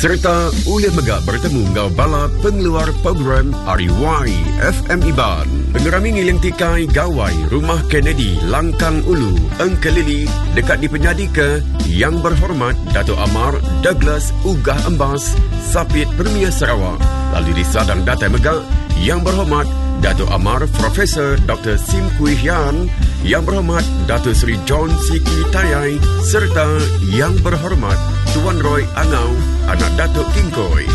Sereta ulih mega bertemu enggau bala pengeluar program ari YFM Iban. Pengerami Ngiling Tikai Gawai Rumah Kennedy Langkang Ulu, Engkelili deka dipenyadika Yang Berhormat Datuk Amar Douglas Uggah Embas, Sapit Premier Sarawak. Lalu disadang datai mega Yang Berhormat Datuk Amar Profesor Dr. Sim Kui Hian, Yang Berhormat Datuk Seri John Siki Tayai serta Yang Berhormat Tuan Roy Angau, anak Datuk Kingkoi.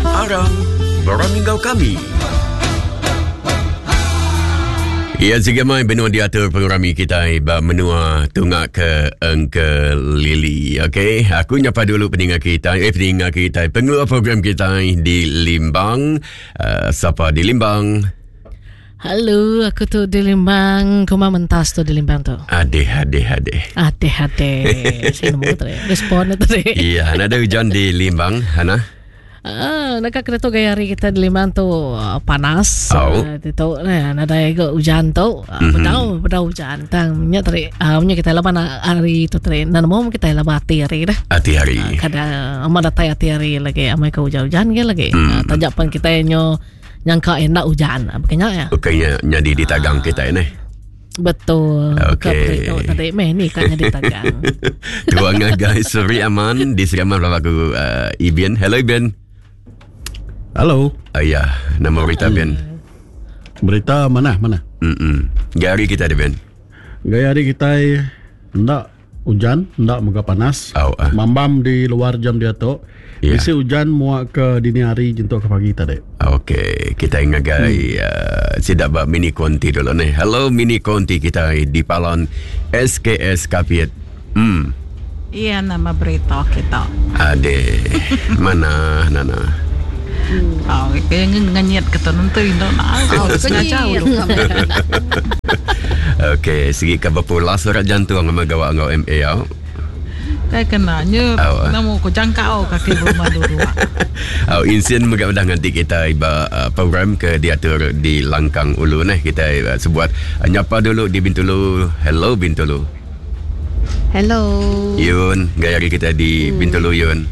Aram, berami enggau kami. Ya, sigi mai benua diatur pengerami kitai ba menua tunga ke Engkelili. Okey, aku nyapa dulu peninga kitai, eh peninga kitai, pengeluar program kitai di Limbang. Uh, sapa di Limbang? Halo, aku tu di Limbang. Kuma mentas tu di Limbang tu. Adeh, adeh, adeh. Adeh, adeh. Saya nemu tu. Respon tu. Iya, ada hujan di Limbang, Hana. Ah, nak kena tu gaya hari kita di Limbang tu ah, panas. Oh. Ah, tu nah, ada juga hujan tu. Ah, mm-hmm. Bedau, bedau hujan. Tang nya tadi, ah, nya kita laban hari tu tadi. Nah, nemu kita laban hati hari dah. Hati hari. Ah, kadang amat datai hati hari lagi, amai ke hujan-hujan ke lagi. Mm. Ah, tajak pan kita nyo nyangka enda hujan bukannya ya. Bukannya nyadi ditagang kita ini. Betul. Okey. Bukan tadi meh ni kan nyadi tagang. Tuan ngagai Seri Aman di Seri Aman belakang aku uh, Ibian. Hello Ibian. Hello. Oh, ya, nama berita Bian. Berita mana mana? Hmm. Gaya hari kita ada Bian. Gaya hari kita enda Ujan enda mega panas. Au ah. Mambam di luar jam diatu. Ya. Bisi ujan muak ke dini hari nyentuk ke pagi tadi. Okey, kita ngagai hmm. uh, sida ba mini konti dulu ni. Hello mini konti kita di Palan SKS Kapit. Hmm. Iya nama berita kita. Ade. Mana nana. Oh, kaya ngenyit ke tu nentu indo nak. Oh, sengaja ulu. Okey, sigi ka bepulas surat jantung sama gawa enggau MA au. Kai kena nyu Au. nemu ku jangkau kaki berumah dua. Au insin mega udah nganti kita ba uh, program ke diatur di Langkang Ulu neh kita uh, sebuat uh, nyapa dulu di Bintulu. Hello Bintulu. Hello. Yun, gaya hari kita di hmm. Bintulu Yun.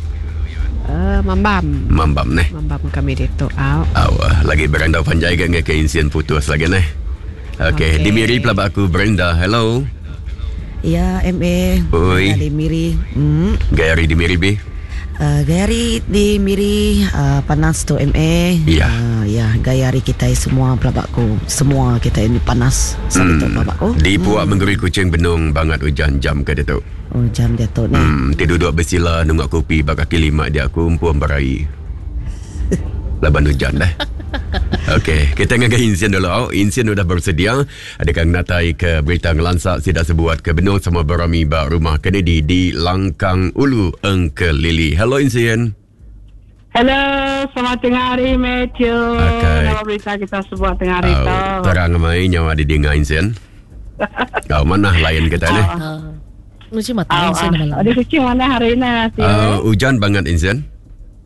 Uh, mambam. Mambam neh. Mambam kami ditu. Au. Au, uh, lagi berandau panjai ga ke insien putus lagi neh. Okey, okay. di Miri pelaba aku Brenda. Hello. Ya, MA. Oi. Di Miri. Hmm. Gaya hari di Miri bi. Uh, gaya hari di Miri uh, panas tu MA. Ya. Uh, ya, gaya hari kita semua pelabakku. Semua kita ini panas. Sabi tu pelabakku. Di puak hmm. Menggeri Kuching benung bangat ujan jam ke ditu. Oh, jam dia tu ni. Hmm, ti duduk besila nunggak kopi ba kaki lima dia aku empu berai. Laban hujan dah. Okey, kita ngagai Insian dulu. Oh, Insian udah bersedia. Adakah natai ke berita ngelansa sida sebuat ke benung sama berami ba rumah Kennedy di Langkang Ulu Engkelili. Hello Insian. Hello, selamat tengah hari Matthew. Okay. Nama berita kita sebuat tengah hari tu. Oh, terang mai nyawa di dinga Insian. Kau mana lain kita ni? Lucu mata Insian malam. Ada kucing mana hari ni? Uh, hujan banget Insian.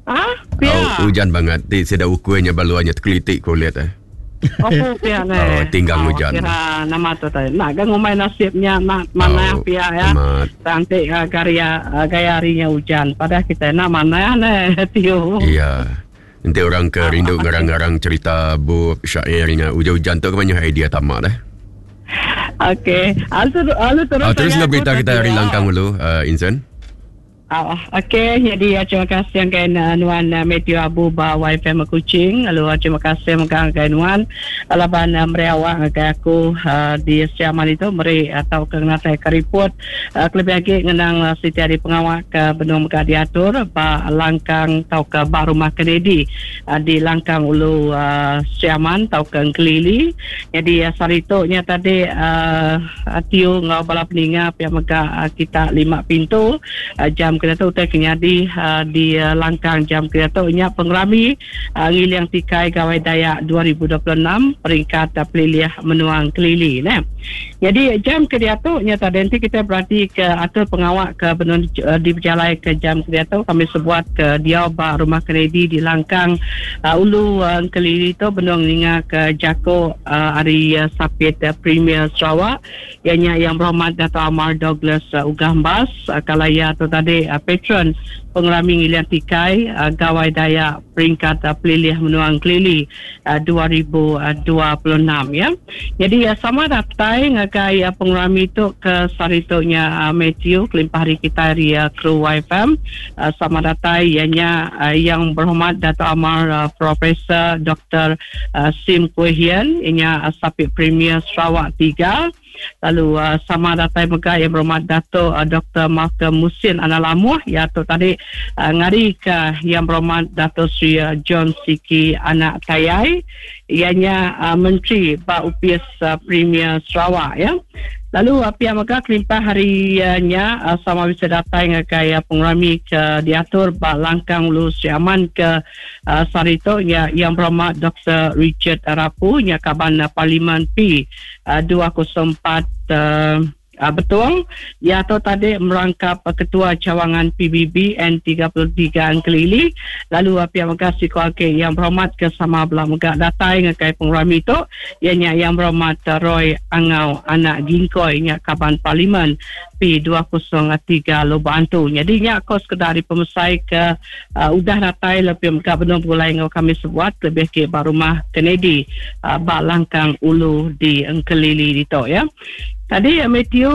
Ah, pia. Oh, hujan banget. Ti sida ukuinya baluannya terkelitik kulit eh. Oh, pia ni. Oh, tinggang hujan. Kira nama tu tadi. Nak kan ngumai nasibnya nak mana Oh, pia ya. Amat. Cantik uh, gaya uh, gaya harinya hujan. Padahal kita nak mana ni Tio. Iya. Nanti orang ke rindu ngarang-ngarang cerita bup syairnya hujan-hujan tu kebanyakan idea tamak dah. Okey. Lalu lalu terus. Oh, terus saya nak berita aku kita hari tadi, langkang dulu, uh, Insan. Ah, okey, jadi uh, terima kasih yang kain uh, Nuan uh, Matthew Abu ba YFM Kuching. Lalu uh, terima kasih megang kain Nuan laban uh, meriawak ngagai aku uh, di Siaman itu meri atau ke ngatai ke report uh, kelebih lagi ngenang uh, siti hari pengawak ke benung mega diatur ba Langkang tau ke ba rumah Kennedy uh, di Langkang Ulu uh, Siaman tau ke Engkelili. Jadi uh, sari tu nya tadi uh, Tiu ngau bala peninga pihak mega uh, kita lima pintu uh, jam kena tu utai kenyadi uh, di uh, Langkang jam kena tu nya pengerami uh, Ngiling Tikai Gawai Dayak 2026 peringkat uh, pelilih menuang kelili ne. Jadi jam ke dia tu nya tadi nanti kita berarti ke atur pengawak ke benun uh, di berjalai ke jam ke dia tu kami sebuat ke dia ba rumah Kennedy di Langkang uh, Ulu uh, Kelili tu benung ninga ke Jako uh, hari uh, Sapit uh, Premier Sarawak ianya yang berhormat Dato' Amar Douglas uh, Uggah Embas uh, kalaya tu tadi patron Pengerami Ngiling Tikai Gawai Dayak Peringkat Pelilih Menua Engkelili 2026 ya. Jadi sama datai ngagai pengerami tu ke sehari tu nya Matthew kelimpah ari kitai ari kru YFM sama datai iya nya Yang Berhormat Dato Amar Profesor Doktor Sim Kui Hian iya nya Sapit Premier Sarawak 3 Lalu sama datai mega Yang Berhormat Dato Doktor Malcolm Musin Anak Lamuh iya tu tadi ngarika Yang Berhormat Dato Sri John Sikie Anak Tayai iya nya Menteri ba Opis Premier Sarawak ya. Lalu pia mega kelimpah hari nya sama bisi datai ngagai pengerami ke diatur ba Langkang Ulu Sri Aman ke sehari tu nya Yang Berhormat Doktor Richard Rapu nya kaban Parlimen P 204 Betong. Iya tu tadi merangkap Ketua Cawangan PBB N33 Engkelili lalu pia mega siku agi Yang Berhormat ke sama bela mega datai ngagai pengerami tu iya nya Yang Berhormat Roy Angau Anak Gingkoi nya Kaban Parlimen P203 Lubok Antu. Nyadi nya ko sekeda ari pemesai ke udah datai lalu pia mega benung begulai enggau kami sebuat kelebih agi ba rumah Kennedy ba Langkang Ulu di Engkelili ditu ya. Tadi Matthew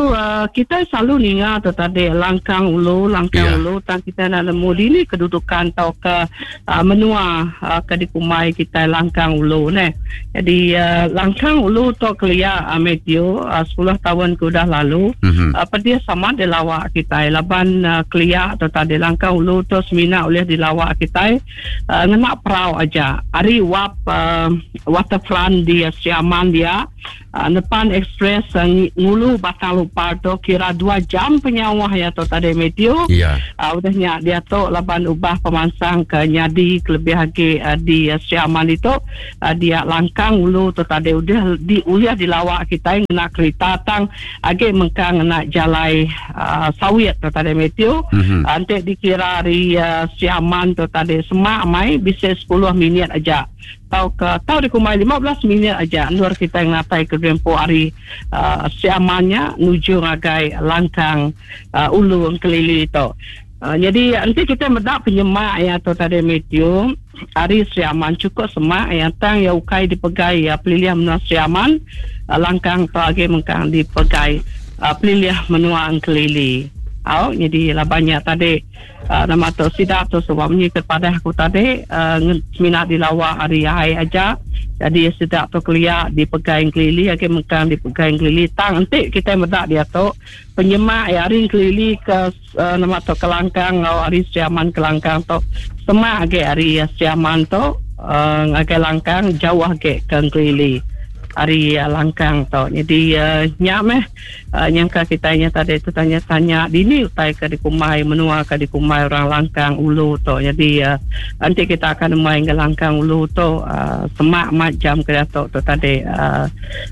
kitai selalu ninga tu tadi Langkang Ulu Langkang yeah. Ulu tang kitai enda nemu dini kedudukan tauka menua ke dikumbai kitai Langkang Ulu neh. Jadi Langkang Ulu tu kelia Matthew 10 taun ke udah lalu mm-hmm. pedis sama dilawa kitai laban kelia tu tadi Langkang Ulu tu semina ulih dilawa kitai ngena perau aja. Ari wap waterfront di Sri Aman dia Nepan express ngulu Batang Lupar tu kira dua jam penyauh iya tu tadi Matthew. Ya. Udah nya diatu laban ubah pemansang ke nyadi kelebih agi di Sri Aman ditu dia langkang ulu tu tadi udah di ulih dilawa kitai ngena kerita tang agi mengkang ngena jalai sawit tu tadi Matthew. Mm-hmm. Enti dikira ari Sri Aman tu tadi semak mai bisi 10 minit aja. Tauka tau dikumbai 15 minit aja endur kitai ngenatai ke gerempo ari Sri Aman nya nuju ngagai Langkang Ulu Engkelili tu. Nyadi enti kitai meda penyemak iya tu tadi Matthew ari Sri Aman chukup semak iya tang iya ukai dipegai pelilih menua Sri Aman Langkang tu agi mengkang dipegai pelilih menua Engkelili. Au nyadi laban nya tadi. Nama tu sida tu suba munyi ke padah aku tadi semina dilawa ari ai aja. Jadi sida tu kelia dipegai Engkelili agi mengkang dipegai Engkelili tang enti kitai meda diatu penyemak iya ari Engkelili ke nama tu ke Langkang enggau ari Sri Aman ke Langkang tu semak agi ari Sri Aman tu ngagai Langkang jauh agi ke Engkelili ari Langkang tu. Jadi nya meh. Nyangka kitai nya tadi tetanya-tanya dini utai ke dikumbai menua ke dikumbai orang Langkang Ulu tu. Nyadi enti kita akan nemuai enggau Langkang Ulu tu semak amat jam ke diatu tu tadi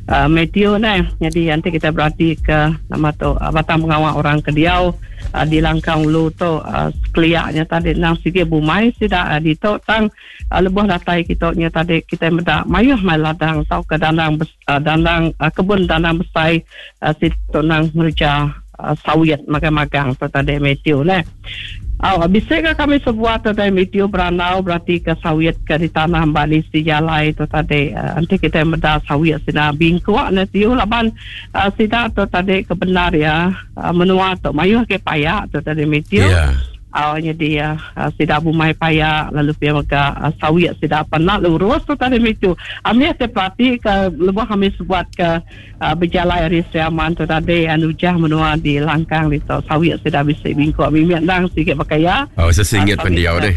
Matthew neh. Nyadi enti kita berati ke nama tu batang pengawa orang ke diau di Langkang Ulu tu sekelia nya tadi endang sigi bumai sida ditu tang lebuh datai kitu nya tadi kitai meda mayuh mai ladang tauka dandang Dandang kebun dandang besai situ nang ngereja sawit magang-magang tu tadi Matthew neh. Au bisi ga kami sebuat tu tadi Matthew berandau beratika sawit ke ditanam ba nisi jalai tu tadi. Enti kitai meda sawit sida bingkuk neh tiu laban sida tu tadi ke bendar iya menua tu mayuh agi paya tu tadi Matthew. Yeah. Au nyadi sida bumai paya lalu pia mega sawit sida pan enda lurus tu tadi mitu. Amih ti perati ke lebuh kami sebuat ke bejalai ari Sri Aman tu tadi nujah menua di Langkang ditu sawit sida bisi bingkuk mimit endang sigi baka iya. Oh sesingit pendiau deh.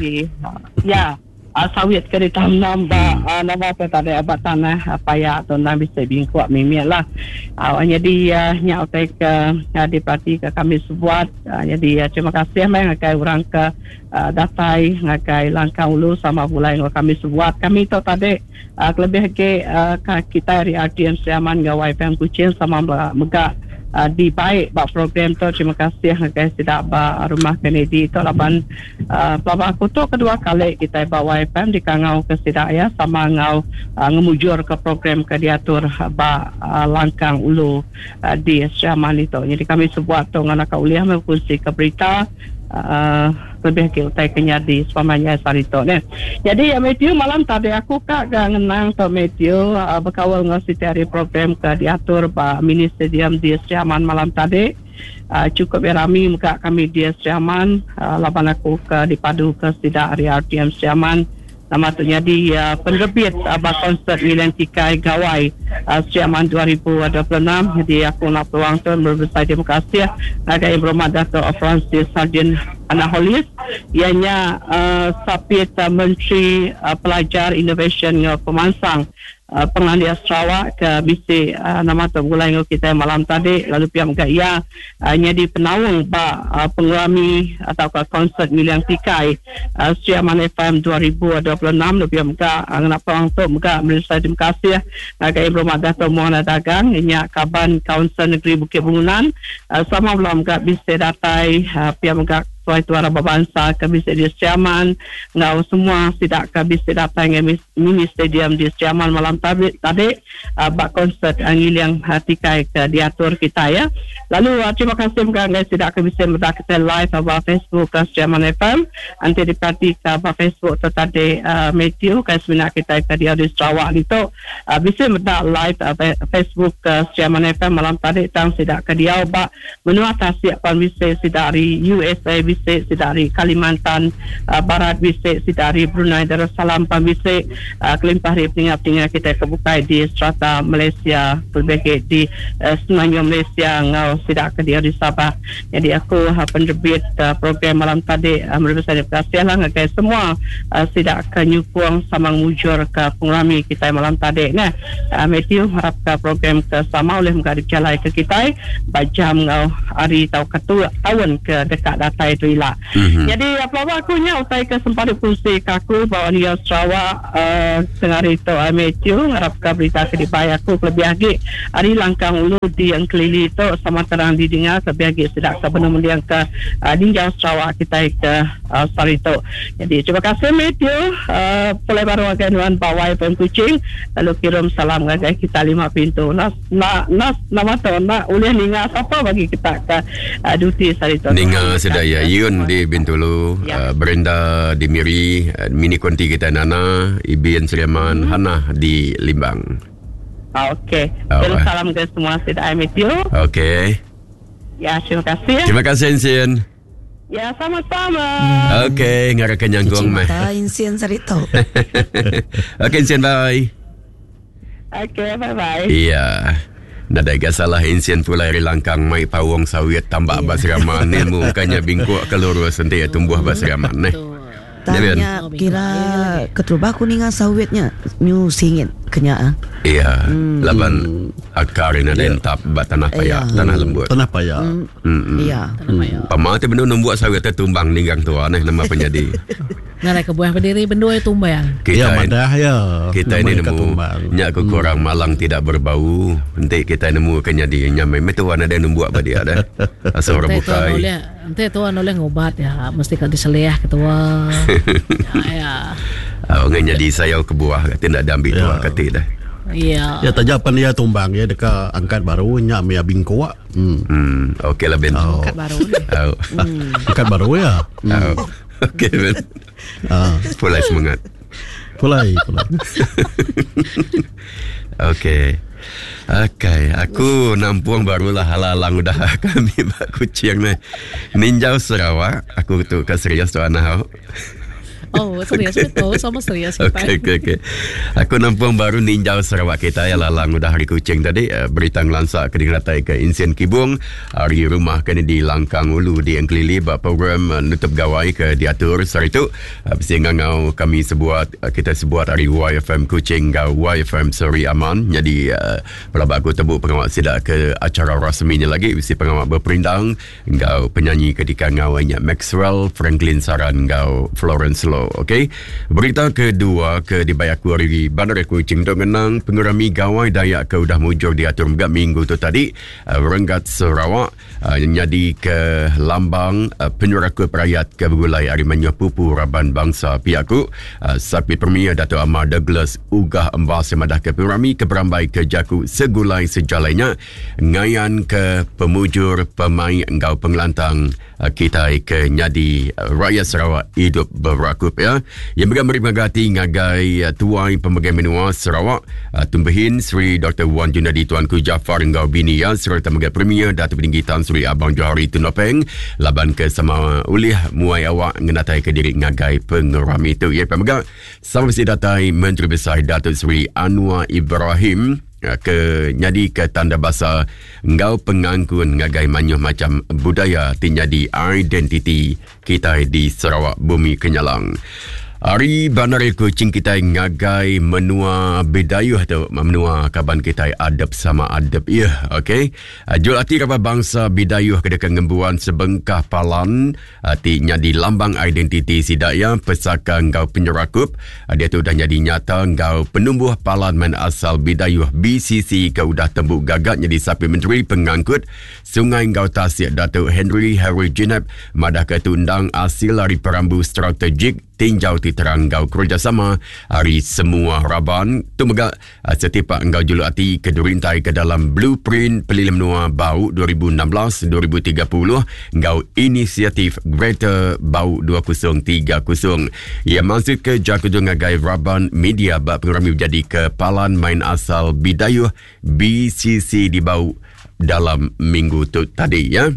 Ya. Sawit ke ditanam ba nama tu tadi ba tanah paya tu endang bisi bingkuk mimit lah. Nyadi nya utai ke diperatika kami sebuat. Nyadi terima kasih meh ngagai orang ke datai ngagai Langkang Ulu sama begulai enggau kami sebuat. Kami tu tadi kelebih agi kitai ari RTM Sri Aman enggau YFM Kuching sama mega dibai ba program tu. Terima kasih ngagai sida ba Rumah Kennedy tu laban Pelaba aku tu kedua kali kitai ba YFM dikangau ke sida iya sama enggau ngemujur ke program ke diatur ba Langkang Ulu di Sri Aman ditu. Nyadi kami sebuat tu ngena ka ulih meh bekunsi ke berita. Uh, lebih ke utai ke nyadi sepemanjai sehari tu neh. Jadi Matthew malam tadi aku ka ga ngenang tu Matthew uh, bekaul enggau siti hari program ke diatur ba mini stadium di Sri Aman malam tadi. Uh, cukup rami mega kami di Sri Aman uh, laban aku ke dipadu ke sida ari RTM Sri Aman. Nama tu nyadi penerbit ba konsert Ngiling Tikai Gawai Sri Aman 2026. Nyadi aku ngena peluang tu meri besai terima kasih ngagai Ibu Rumah Dato Francis Sardin Anak Hollis iya nya Sapit Menteri Pelajar, Inovasyen enggau Pemansang Pengelandik Sarawak ke bisi nama tu begulai enggau kitai malam tadi lalu pia mega iya nyadi penaung ba pengerami tauka konsert Ngiling Tikai Sri Aman FM 2026 lalu pia mega ngena peluang tu mega meri besai terima kasih ngagai Ibu Rumah Dato Mohana Dagang inya kaban Kaunsil Negeri Bukit Bungunan sama bela mega bisi datai pia mega Tuai Tuai Raban Bansa ke bisi di Sri Aman enggau semua sida ke bisi datai ngagai mini stadium di Sri Aman malam tadi tadi ba konsert ngiling tikai ke diatur kitai ya. Lalu terima kasih mega ngagai sida ke bisi meda kitai live ba Facebook Sri Aman FM. Enti diperatika ba Facebook tu tadi Mathew kai semina kitai ke diau di Sarawak ditu bisi meda live Facebook Sri Aman FM malam tadi tang sida ke diau ba Menua tasik pan bisi sida ari USA bisi sida ari Kalimantan Barat bisi sida ari Brunei Darussalam pan bisi kelimpah ari peninga-peninga kitai ke bukai di serata Malaysia kelebih agi di Semenanjung Malaysia enggau sida ke diau di Sabah. Nyadi aku penerbit program malam tadi meri besai terima kasih lah ngagai semua sida ke nyukung sama ngemujurka pengerami kitai malam tadi neh. Matthew ngarapka program ke sama ulih mega dipejalaika kitai ba jam enggau hari tauka taun ke deka datai tu ila. Nyadi pelaba aku nya utai ke sempat dikunsika aku ba Wanita Sarawak sehari tu Matthew ngarapka berita ke dibai aku kelebih agi ari langkang ulu di Engkelili tu sama terang didinga kelebih agi sida ke benung mendingka ninjau Sarawak kitai ke Sehari tu. Nyadi terima kasih Matthew pulai baru ngagai nuan ba YFM Kuching lalu kirum salam ngagai kita lima pintu. Enda enda enda nama tu enda ulih ninga sapa bagi kita ke duty sehari tu. Ninga sida iya Yun di Bintulu, Brenda di Miri, mini konti kita Nana, Ibin Sri Aman, Hannah di Limbang. Okey. Kirum salam ngagai semua sida Matthew. Okey. Ya, terima kasih. Terima kasih Ensin. Ya, sama-sama. Okey, ngarapka nyanggung meh. Mata insin saritu. Okey, Insin, bye. Okey, bye-bye. Iya. Nadai ga salah insin pulai ari langkang mai paung sawit tambak ba Seraman ni mu kanya bingkuk ke lurus enti iya tumbuh ba Seraman neh. Tang nya kira keterubah ku ninga sawit nya nyu singit ke nya ah. Iya, laban akar nya nadai entap ba tanah paya, tanah lembut. Tanah paya. Iya. Pama ti benung numbuh sawit te tumbang ninggang tua neh nama penyadi. Ngarai kebuah bediri bendui tumbang. Iya madah iya. Kitai ni nemu nya ku kurang malang tidak berbau. Enti kitai nemu ke nyadi nya meh tuan nadai numbuh ba dia deh. Asal orang bukai. Enti tua nulih ngubat ya mesti ka diselih ke tua. Ya. Oh, ngai nyadi sayau kebuah kati enda diambi tua kati deh. Ya. Ya taja pan iya tumbang iya deka angkat baru nya mih bingkuk. Hmm. Hmm, okey lah Ben. Oh. Angkat baru ni. Oh. Angkat baru ya. Oh. Okey Ben. Ah. Pulai semangat. Pulai, pulai. Okey. Okey, aku nampung barulah alang-alang udah kami ba Kuching ni. Ninjau Sarawak, aku tu ka serius tu anah au. Oh, serius betul, sama serius kita. Okey, okey, okey. Aku nampung baru ninjau Sarawak kita ya lalang udah hari Kuching tadi eh, berita ngelansa ke dingeratai ke Insin Kibung hari rumah ke di Langkang Ulu di Engkelili ba program eh, nutup gawai ke diatur sehari tu. Bisi ngangau kami sebuat kita sebuat ari YFM Kuching enggau YFM Seri Aman nyadi pelaba aku tebu pengawa sida ke acara rasmi nya lagi bisi pengawa beperindang enggau penyanyi ke dikangau nya Maxwell Franklin Saran enggau Florence Lo. Sebuyau. Okey. Berita kedua ke dibai aku ari Bandar Kuching tu ngenang pengerami Gawai Dayak ke udah mujur diatur mega minggu tu tadi renggat Sarawak nyadi ke lambang penyerakup rayat ke begulai ari mayuh pupu raban bansa pia ku Sapit Premier Datuk Amar Douglas Uggah Embas yang madahka pengerami ke berambai ke jaku segulai sejalai nya ngayan ke pemujur pemaik enggau pengelantang kitai ke nyadi rakyat Sarawak idup berakup ya. Yang mega meri pengaga ati ngagai tuai pemegai menua Sarawak Tumbehin Sri Dr. Wan Junadi Tuanku Jaafar enggau bini iya sereta mega Premier Datuk Peninggi Tan Sri Abang Johari Tun Openg laban ke sama ulih muai awak ngenatai ke diri ngagai pengerami tu. Ya mega sama bisi datai Menteri Besai Datuk Seri Anwar Ibrahim ke nyadi ke tanda basa enggau pengangkun ngagai mayuh macham budaya ti nyadi identiti kitai di Sarawak Bumi Kenyalang. Ari bandar Kuching kitai ngagai menua Bidayuh tu, menua kaban kitai adep sama adep iya, okey. Jul ati raban bangsa Bidayuh ke deka ngembuan sebengkah palan ti nyadi lambang identiti sida iya pesaka enggau penyerakup diatu udah nyadi nyata enggau penumbuh Palan Main Asal Bidayuh BCC ke udah tembu gaga nyadi Sapit Menteri Pengangkut Sungai enggau Tasik Datuk Henry Harry Jinep madahka tu endang asil ari perambu strategik tinjau ti terang enggau kerejasama ari semua raban tu mega Setipak enggau juluk ati ke dirintai ke dalam Blueprint Pelilih Menua Bau 2016-2030 enggau Inisiatif Greater Bau 2030. Iya mansutka jaku tu ngagai raban media ba pengerami bejadika Palan Main Asal Bidayuh BCC di Bau dalam minggu tu tadi ya.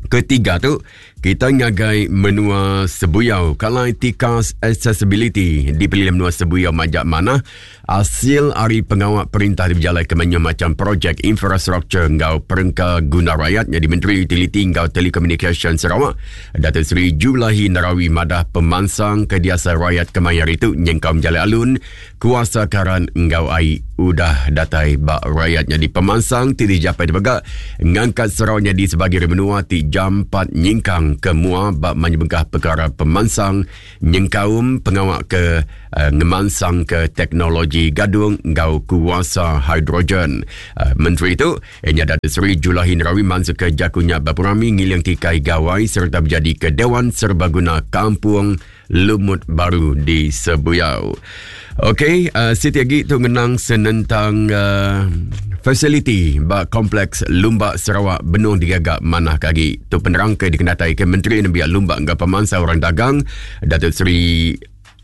Ketiga tu, kita ngagai menua Sebuyau kalai tikas accessibility di pelilih menua Sebuyau majak manah asil ari pengawa perintah dibejalai ke mayuh macham projek infrastruktur enggau perengka guna rakyat nyadi Menteri Utiliti enggau Telekomunikasyen Sarawak Datuk Seri Julaihi Narawi madah pemansang ke diasai rakyat kemaya hari tu nyengkaum jalai alun Kuasa karan enggau ai udah datai ba rayat nyadi pemansang ti dijapai mega ngangkat Sarawak nyadi sebagi ari menua ti jampat nyingkang ke mua ba mayuh bengkah pekara pemansang nyengkaum pengawa ke uh, ngemansangka teknologi gadung enggau kuasa hidrogen. Uh, Menteri tu nya Datuk Seri Julaihi Narawi mansutka jaku nya ba pengerami ngiling tikai gawai sereta bejadika Dewan Serbaguna Kampung Lumut Baru di Sebuyau. Okey, uh, siti agi tu ngenang senentang uh, fasiliti ba Kompleks Lumba Sarawak benung digaga manah ke agi. Tu penerang ke dikenatai ke Menteri Nembiak Lumba enggau Pemansang Orang Dagang Datuk Seri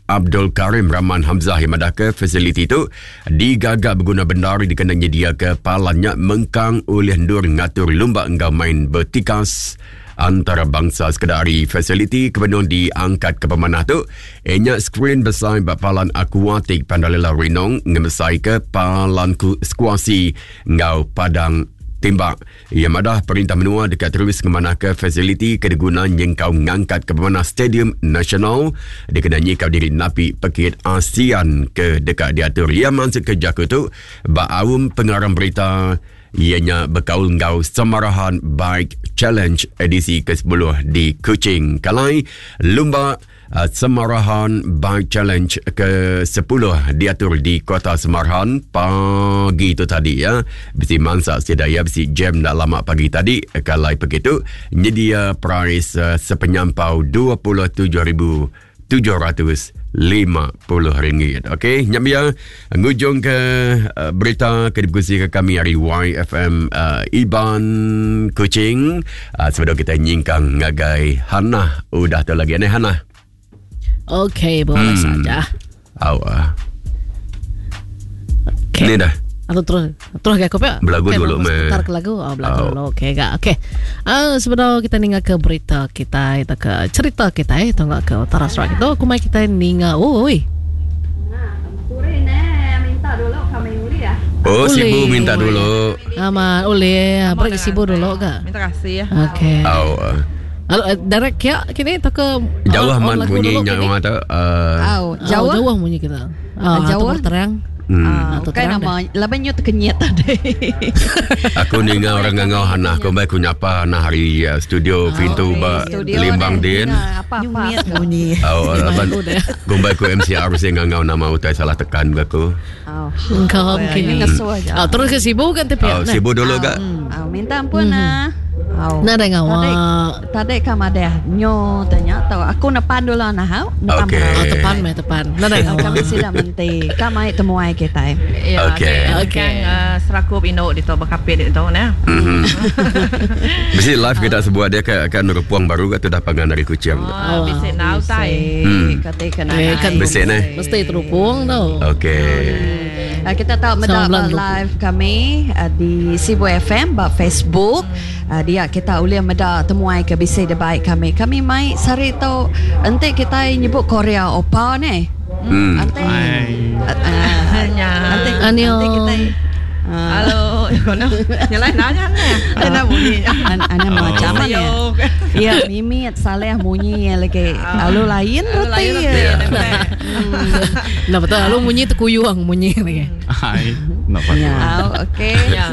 Abdul Karim Rahman Hamzah yang madahka fasiliti tu digaga beguna bendar dikena nyediaka palan nya mengkang ulih endur ngatur lumba enggau main betikas Antarabangsa sekeda ari fasiliti ke benung diangkat ke pemanah tu iya nya skrin besai ba palan akuatik Pandalela Rinong ngemesaika palan skuasi enggau padang timbak. Iya madah perintah menua deka terus ngemanahka fasiliti ke diguna nyengkaum ngangkatka pemanah Stadium Nasional dikena nyikap diri napi pekit ASEAN ke deka diatur. Iya mansutka jaku tu ba aum pengarang berita iya nya bekaul enggau Samarahan Bike Challenge edisi ke-10 di Kuching. Kalai lumba uh, Samarahan Bike Challenge ke-10 diatur di Kota Samarahan pagi tu tadi ya. Bisi mansa sida ya bisi jam enda lama pagi tadi kalai begitu nyedia prize uh, sepenyampau 27,000 RM750. Okey, nya biar ngujung ke uh, berita ke dikongsi ke kami hari YFM uh, Iban Kuching. Uh, sebelum kita nyingkang ngagai Hannah udah tu lagi ni Hannah. Okey, boleh saja. Au. Uh. Okey. Ni dah. Atau terus terus ke aku pe. Belagu okay, dulu meh. Sebentar ke lagu. Oh, belagu Oh. dulu. Okey gak. Okey. Ah sebelum kita ninga ke berita kita atau ke cerita kita eh atau ke utara Sarawak itu aku mai kita ninga. Oh, oi. Oh, Boleh. Sibu minta dulu. Aman, boleh. Beri Sibu dulu gak. Minta kasih ya. Okey. Au. Uh. Lalu eh, direct kia kini atau ke Jauh on- on amat lagu bunyi dulu nya kini? orang tu. Uh, Au, Jauh, jauh. jauh bunyi kita. Ah, Jauh. jauh terang. Ah, Bukan nama laban nyu tekenyit tadi. Aku ninga orang ngangau Hannah aku bai ku nyapa Hannah hari uh, studio pintu ba Limbang din. Apa-apa. Bunyi. Oh, laban kumbai ku MCR mesti ngangau nama utai salah tekan ke aku. Oh. Engkau mungkin. Ngesuh aja. Ah, terus ke Sibu kan tapi. Oh, Sibu dulu gak? Oh, minta ampun ah. Oh. Nadai ngawa. Tadi kam ada nyo tanya tau aku nepan dulu nah hau. Nepan Okey. Oh, tepan meh tepan. Nadai ngawa. Kami sida menti. Kam ai temuai kita. Ya, Okey. Okey. Uh, serakup induk di tu berkapit di tu nah. Mhm. Mesti live kita sebuah dia ke akan repuang baru ke tu dah pangan dari kucing. tu. Oh, bisi nau tai. Kata kena. Eh, kan Besi ni. Mesti terupung tau. Okey. Ah, kita tahu meda Sama ba bulan live kami ah, di Sibu FM ba Facebook. Ah, dia kita boleh meda temuai ke bisi de baik kami. Kami mai sari tu enti kita nyebut Korea opa ni. Enti Nya. enti Annyeong. enti kita ah, Halo, kono. Nyalai nanya ni. Ana bunyi. an- ana macam mana ya? Ayo. Ya, mimit saleh munyi lagi. Lalu lain Lalu reti. lain ya. reti. Nah betul lalu munyi terkuyuang munyi lagi. Hai. Nak patut. Ya, okey. Ya.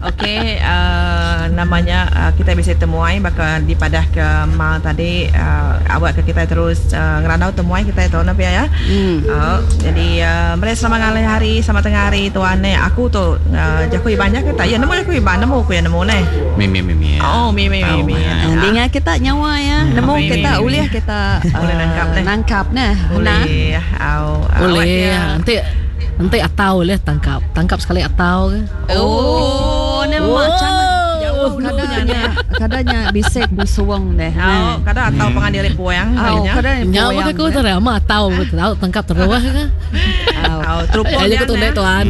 Okey, uh, namanya uh, kita bisa temuai bakal dipadah ke ma tadi uh, awak ke kita terus uh, ngerandau temuai kita tu nak ya. Hmm. Uh, jadi uh, mereka selamat ngalih hari, selamat tengah hari tuan ni. Aku tu uh, jaku ibannya ke tak? Ya nemu jaku iban nemu aku yang nemu ni. Mimi mimi. Oh, mimi Tahu, mimi. ya. Ah, Dengar kita nyawa ya. Nemu Mimi, kita mimi. ulih kita Boleh ah, nangkap neh. Nangkap neh. Nah. Boleh. Au. awak Boleh. dia- Nanti nanti atau boleh tangkap. Tangkap sekali atau ke. Oh, ni macam Jauh kadanya kadanya bisik busuang deh. Au, kadang atau pengadil puang Au, kalinya. kadang Nyawa aku tu ramah atau tahu tangkap terus ke. Au. Au, terupung Ayo dia aku tundai neh. tuan.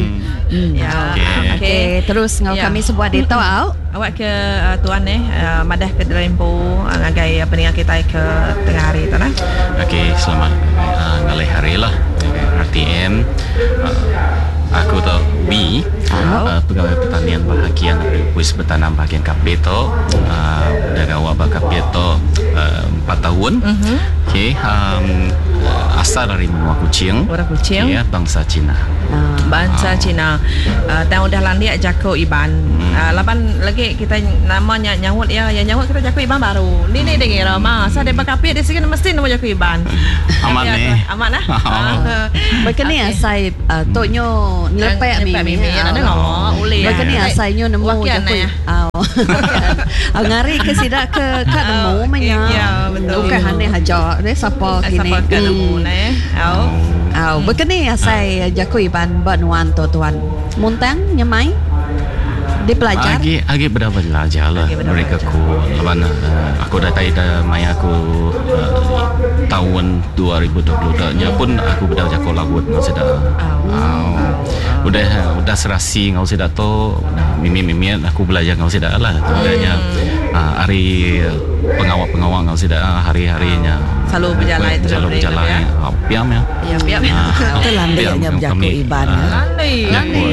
Ya. Okey. Okey. Okey, terus ngau Ya. kami sebuah dito au. Awak ke uh, tuan ni uh, madah ke Derempu uh, ngagai uh, peningat kita ke tengah hari tu lah. Okey, selamat uh, ngalih hari lah. RTM. Uh, aku tu B, uh, pegawai pertanian bahagian Wis Bertanam bahagian KP tu. Uh, dah gawak bak KP tu uh, 4 tahun. Okey, um, uh, asal dari menua Kuching. Orang Kuching. Ya, bangsa Cina. Bangsa Cina. Uh, tahun dah landik jako Iban. Uh, laban lagi kita namanya nyawut ya, yang nyawut kita jako Iban baru. Ni ni dia kira mah. Sa dia bakapit dia sikit mesti nama jako Iban. Amat Ya, ni. Amat lah. Ah. Berkeni asai uh, tok nyo nyelepek Nyelepek mi. mimi. Ada ngomong boleh. Berkeni asai nyo nemu Wakian, jakui. eh. Au. Au ngari ke sidak ke kat nemu Au, menya. ya, betul. Bukan haneh aja. Dia siapa kini. Siapa ke nemu ne. Au. Au, berkeni asai jakui ban banuan tu tuan. Muntang nyemai dipelajar. Agi agi beda belajar lah Agi beda mereka belajar. ku laban uh, aku dah tai dah maya aku uh, tahun 2020 dah nya pun aku beda jako lagut ngau seda. Au. Udah udah serasi ngau seda tu mimi mimi aku belajar ngau seda lah. Udahnya uh, hari pengawak-pengawak ngau seda hari-harinya. Selalu berjalan terus Selalu beri, berjalan. ya. Ah, Piam ya. Ya, piam. Ah, Terlandiknya piam berjaku kami. Iban, ya. Ah, Landi. Landi.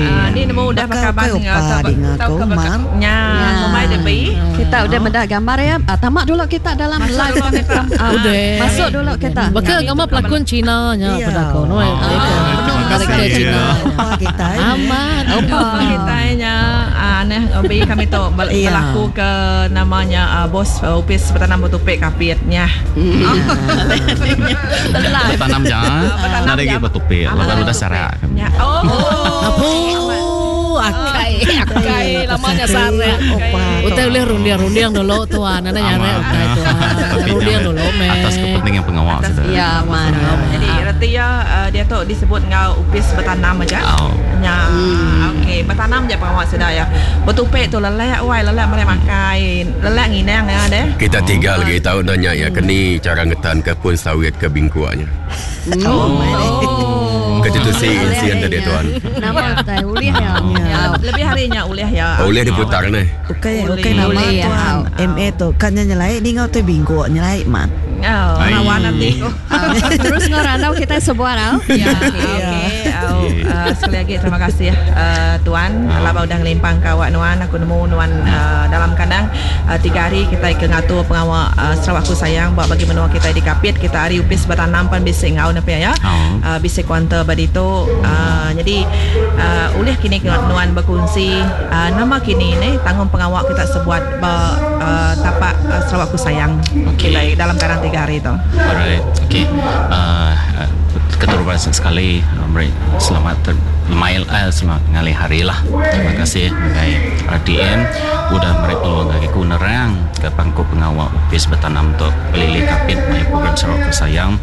Ah, ni nemu dah Bakal pakai kau bang opa dengar tau kau, ke Mar. Nya, Ya. memai debi. Kita udah mendak gambar ya. Ah, tamak dulu kita dalam Masuk live. dulu kita. Ah, Udah. Masuk dulu kita. Baka gambar pelakon Cina nya Iya. pada kau no. terima Karakter kasih. Cina. Opa kita ini. Amat. Opa kita nya aneh obi kami tu Iya. berlaku ke namanya ah, bos ah, upis bertanam bertupik kapitnya. Bertanam jangan. Bertanam Nada lagi jangan. bertupik. Ah, Laban udah bertupik. sarak kami. Ya. Oh. Apu, akai, akai lamanya sare. Opa. Utai boleh rundiang-rundiang dulu tuan, ana nyare Amat. utai tuan. Tapi Rundiang jangan dulu me. Atas kepentingan pengawal sudah. Ya, man. Jadi reti ya ah, dia tu disebut ngau upis bertanam aja. Oh. Ya, okey, bertanam je pengawal sudah ya. Bertupik tu lelek wai, lelek mereka makan, lelek nginang ya deh. Kita tiga lagi tahu nanya ya keni cara ngetan ke pun sawit ke bingkuaknya. Oh. Ketutusi insien tadi tuan. Nama tai ulih ya. Ya, lebih harinya ulih ya. Oh, boleh diputar ni. Okey, Boleh. okey nama Boleh, ya. tuan. MA tu kan nyelai ni ngau tu bingkuk nyelai man. Oh, Ai. rawan nanti. Ah, Terus ngerandau kita sebuah au. Ya, okey. Au, sekali agi terima kasih tuan laban udah ngelimpang ka awak nuan aku nemu nuan dalam kandang tiga hari kitai ke ngatur pengawa Sarawak Ku Sayang ba bagi menua kitai di Kapit kita ari opis betanam pan bisi enggau ne pia ya. Bisi kuanter ba ditu nyadi ulih kini nuan bekunsi nama kini ne tanggung pengawa kita sebuat ba tapak Sarawak Ku Sayang kitai dalam kandang tiga hari tu. Alright okay keterubah sekali meri selamat lemai selamat ngalih hari lah. Terima kasih ngagai RTM udah meri peluang ngagai aku nerang ke pangku pengawa opis betanam tu Pelilih Kapit maya program Sarawak Ku Sayang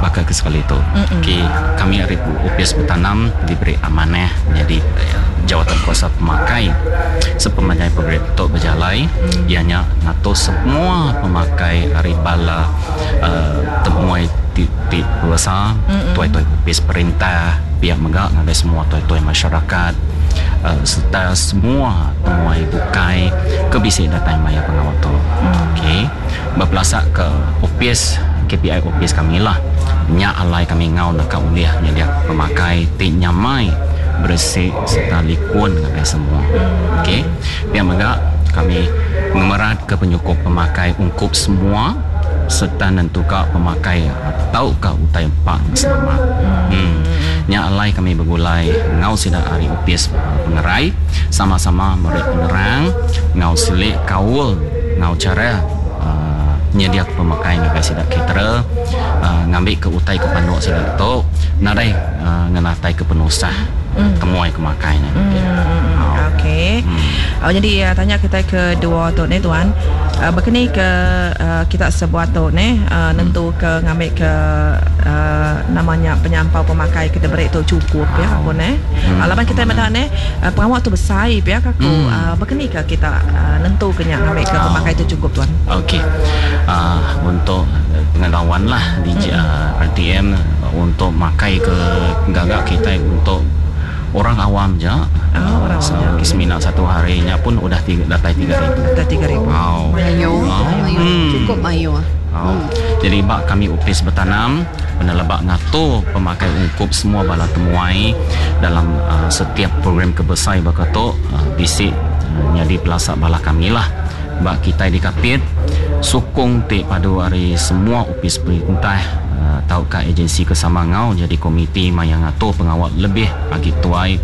baka ke sekali tu. Okey kami ari opis betanam diberi amanah nyadi jawatan kuasa pemakai sepemanjai program tu bejalai iya nya ngatur semua pemakai ari bala temuai ti ti bebasa tuai-tuai opis perintah pia mega ngagai semua tuai-tuai masyarakat sereta semua temuai bukai ke bisi datai maya pengawa tu. Okey bepelasa ke opis KPI opis kami lah nya alai kami enggau naka ulih nyedia pemakai ti nyamai beresi sereta likun ngagai semua. Okey pia mega kami ngemeratka penyukup pemakai ungkup semua sereta nentuka pemakai tauka utai empa nya selamat. Nya alai kami begulai enggau sida ari opis pengerai sama-sama meri penerang enggau silik kaul enggau chara nyediaka pemakai ngagai sida caterer ngambika utai ke panduk sida tu nadai ngenataika penusah temuai ke makai nya. Okey. Nyadi tanya kitai ke dua tu neh tuan. Baka ni ke kita sebuat tu neh nentu ke ngambi ke nama nya penyampau pemakai ke diberi tu chukup pia aku neh. Laban kitai meda neh pengawa tu besai pia ka aku. Baka ni ke kita nentu ke nya ngambi ke pemakai tu chukup tuan. Okey. Untuk pengetahuan lah di RTM untuk makai ke gaga kitai untuk orang awam ja Oh, orang awam ja, okey. Semina satu hari nya pun udah datai 3000. Datai 3000. Au. Mayuh, mayuh. Chukup mayuh. Au. Jadi ba kami opis betanam peneleba ngatur pemakai ungkup semua bala temuai dalam setiap program ke besai baka tu bisi nyadi pelasa bala kami lah. Ba kitai di Kapit, sukung ti padu ari semua opis perintah tauka agensi ke sama enggau nyadi komiti maya ngatur pengawa lebih agi tuai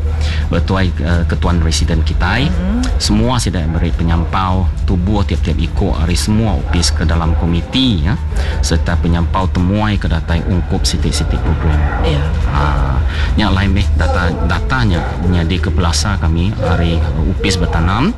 betuai ketuan residen kitai. Semua sida meri penyampau tubuh tiap-tiap iku ari semua opis ke dalam komiti sereta penyampau temuai ke datai ungkup siti-siti program. Nya alai meh data data nya nyadika pelasar kami ari opis betanam.